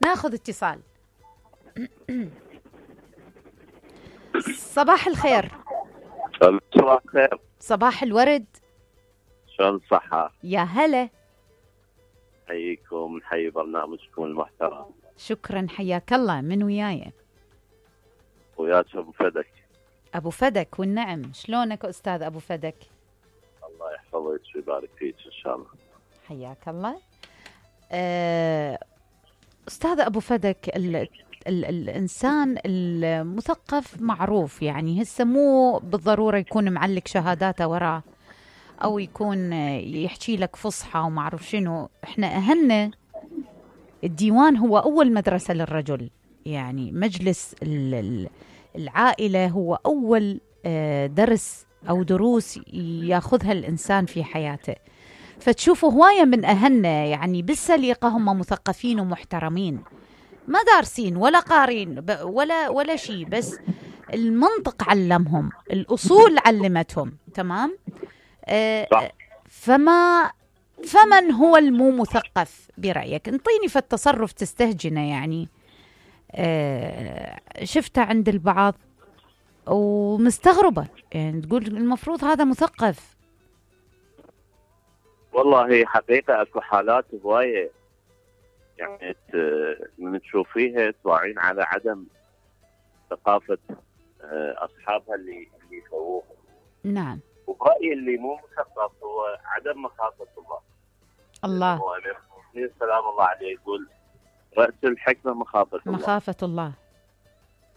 ناخذ اتصال. صباح الخير. صباح الخير. صباح الورد. شلون الصحة؟ يا هلا. حييكم، نحيي برنامجكم المحترم. شكرا، حياك الله. من وياي؟ وياك ابو فدك. ابو فدك والنعم. شلونك استاذ ابو فدك؟ الله يحفظك ويبارك فيك ان شاء الله. حياك الله. استاذ ابو فدك، الانسان المثقف معروف، يعني هسه مو بالضروره يكون معلق شهاداته وراه او يكون يحكي لك فصحى وما اعرف شنو. احنا اهلنا الديوان هو اول مدرسه للرجل، يعني مجلس العائله هو اول درس او دروس ياخذها الانسان في حياته. فتشوفوا هوايه من اهلنا يعني بالسليقه هم مثقفين ومحترمين، ما دارسين ولا قارين ولا شيء، بس المنطق علمهم، الأصول علمتهم. تمام. فمن هو المو مثقف برأيك؟ انطيني في التصرف تستهجنه، يعني شفته عند البعض ومستغربة، يعني تقول المفروض هذا مثقف. والله حقيقة اكو حالات هواية يعني من تشوفيها تراعين على عدم ثقافة أصحابها اللي يسووها. نعم. وبرأيي اللي مو مثقف هو عدم مخافة الله. الله. هو سلام الله عليه يقول رأس الحكمة مخافة الله. مخافة الله.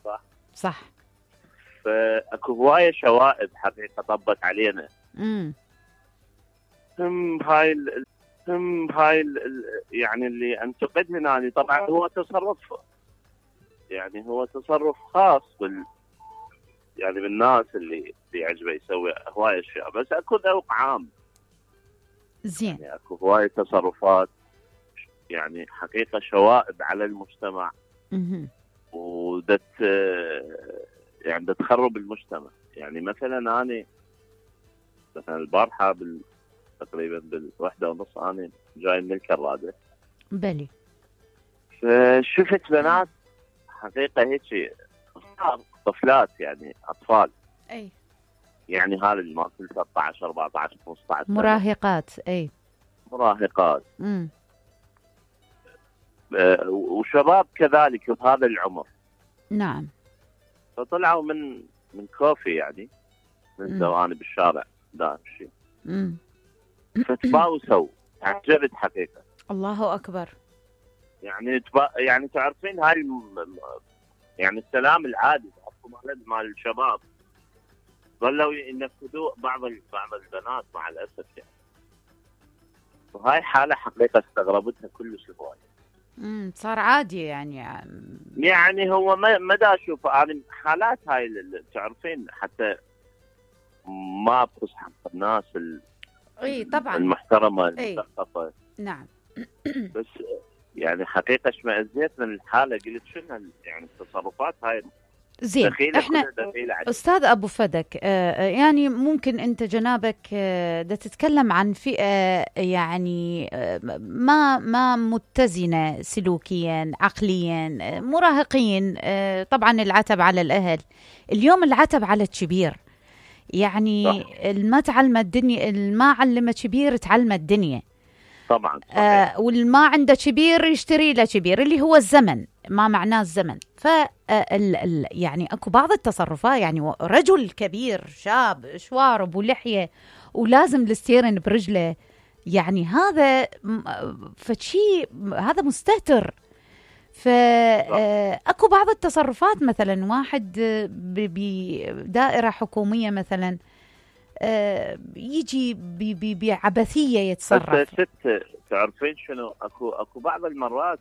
صح. صح. فأكو هواية شوائب حقيقة طبت علينا. هاي يعني اللي انتقد هنا طبعا هو تصرف، يعني هو تصرف خاص يعني بالناس اللي يعجبه يسوي هواي اشياء، بس اكو ذوق عام. زين. يعني اكو هواي تصرفات يعني حقيقة شوائب على المجتمع. يعني تخرب المجتمع. يعني مثلا انا مثلا البارحة تقريبا بال1:30 انا جاي من الكرادة. بلي. فشفت بنات حقيقة هيك طفلات، يعني اطفال. اي. يعني هذا اللي ما كل 13 14 15 سنة. مراهقات. اي. مراهقات. وشباب كذلك بهذا العمر. نعم. فطلعوا من كوفي، يعني من زواني بالشارع دائم شيء. فتباوسوا. تعجبت حقيقة. الله أكبر. يعني تعرفين هاي يعني السلام العادي مال الشباب ظلوا ينفذوا بعض البنات مع الأسف يعني. وهاي حالة حقيقة استغربتها كلش هواية. صار عادي يعني هو ما دا أشوف أنا حالات هاي اللي تعرفين حتى ما بخص حق الناس اي طبعا المحترمة المثقفة. نعم. بس يعني حقيقة اشمئزيت من الحالة، قلت شنو يعني التصرفات هاي. زين. احنا استاذ ابو فدك يعني ممكن انت جنابك دا تتكلم عن فئة يعني ما متزنة سلوكيا عقليا، مراهقين. طبعا العتب على الاهل اليوم، العتب على الكبير. يعني ما تعلم الدنيا، ما علمه كبير تعلم الدنيا. طبعا. والما عنده كبير يشتري له كبير، اللي هو الزمن، ما معناه الزمن. يعني اكو بعض التصرفات، يعني رجل كبير شاب شوارب ولحية ولازم الستيرن برجله، يعني هذا فشي، هذا مستهتر. فاكو بعض التصرفات، مثلا واحد بدائرة حكومية مثلا يجي بعبثية يتصرف. ست تعرفين شنو، اكو بعض المرات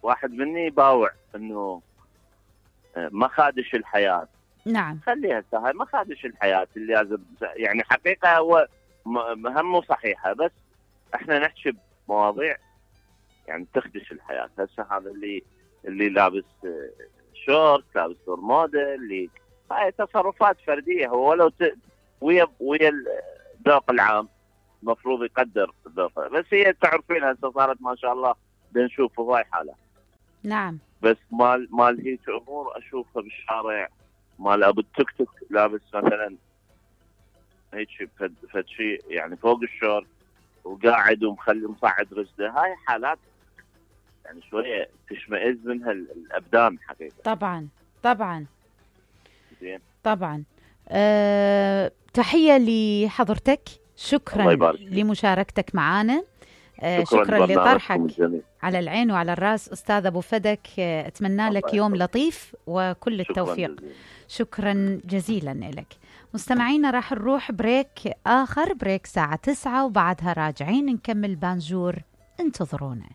واحد مني يباوع انه ما خادش الحياة. نعم. خليها هاي ما خادش الحياة اللي لازم، يعني حقيقة هو مهمه صحيحة، بس احنا نحكي بمواضيع يعني تخدش الحياة. هسه هذا اللي لابس شورت، لابس برمودا، اللي هاي تصرفات فردية. هو ولو ويا الذوق العام المفروض يقدر ذوقه، بس هي تعرفين هسه صارت ما شاء الله بنشوف هواي حالة. نعم. بس مال هيك امور اشوفها بالشارع، مال ابو التوك توك لابس مثلا هيك فد شيء يعني فوق الشورت وقاعد ومخلي مصعد رجله، هاي حالات يعني شويه تشمئز منها الابدان حقيقه. طبعا زين. طبعا. تحيه لحضرتك، شكرا لمشاركتك معنا، شكرا لطرحك على العين وعلى الراس أستاذ أبو فدك. أتمنى لك يوم لطيف وكل التوفيق. شكرا جزيلا لك. مستمعينا راح نروح بريك آخر، بريك الساعة 9 وبعدها راجعين نكمل بانجور، انتظرونا.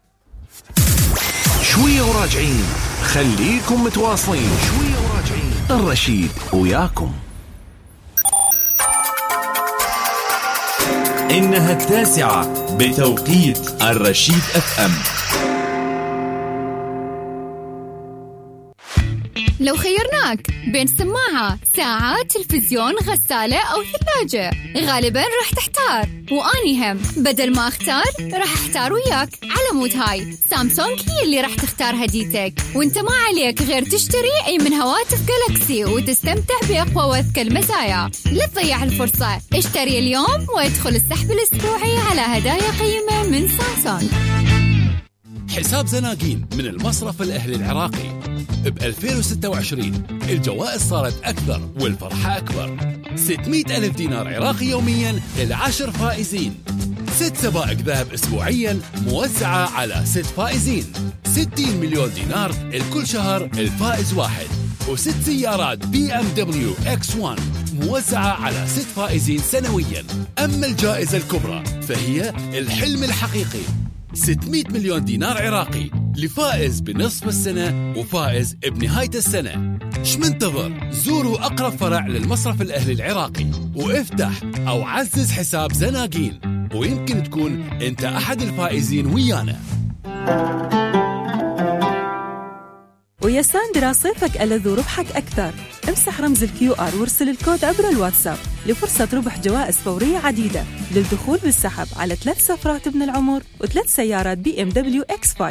شوية وراجعين، خليكم متواصلين. شوية وراجعين، الرشيد وياكم. إنها 9 بتوقيت الرشيد FM. لو خيرناك بين سماعة، ساعة، تلفزيون، غسالة أو ثلاجة، غالباً رح تحتار، وأني هم بدل ما أختار رح أحتار وياك. على مود هاي سامسونج هي اللي رح تختار هديتك، وانت ما عليك غير تشتري أي من هواتف جالاكسي وتستمتع بأقوى وأذكى المزايا. لا تضيع الفرصة، اشتري اليوم وادخل السحب الأسبوعي على هدايا قيمة من سامسونج. حساب زناقين من المصرف الأهلي العراقي. ب 2026 الجوائز صارت أكثر والفرحة أكبر. 600,000 دينار عراقي يوميا لل10 فائزين، 6 سبائك ذهب أسبوعيا موزعة على 6 فائزين، 60 مليون دينار الكل شهر الفائز واحد، و6 سيارات BMW X1 موزعة على 6 فائزين سنويا. أما الجائزة الكبرى فهي الحلم الحقيقي، 600 مليون دينار عراقي لفائز بنصف السنة وفائز بنهاية السنة. شمنتظر؟ زوروا أقرب فرع للمصرف الأهلي العراقي وافتح أو عزز حساب زناقين، ويمكن تكون أنت أحد الفائزين ويانا. ويا ساندرا صيفك ألذ وربحك أكثر. امسح رمز الQR وارسل الكود عبر الواتساب لفرصة ربح جوائز فورية عديدة للدخول بالسحب على 3 سفرات ابن العمر و3 سيارات BMW X5.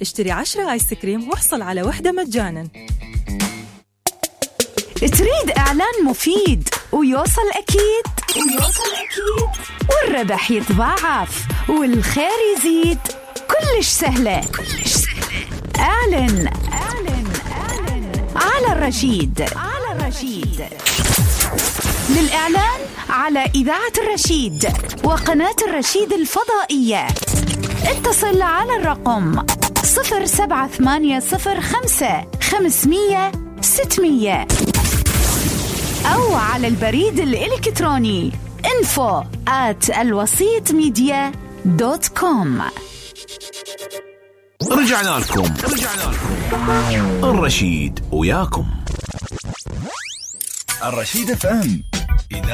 اشتري 10 آيس كريم واحصل على واحدة مجانا. تريد إعلان مفيد ويوصل أكيد والربح يتضاعف والخير يزيد، كلش سهلة. اعلن على الرشيد. للإعلان على إذاعة الرشيد وقناة الرشيد الفضائية اتصل على الرقم 07805 500 600 أو على البريد الإلكتروني info@alwasitmedia.com. رجعنا لكم الرشيد وياكم. الرشيد FM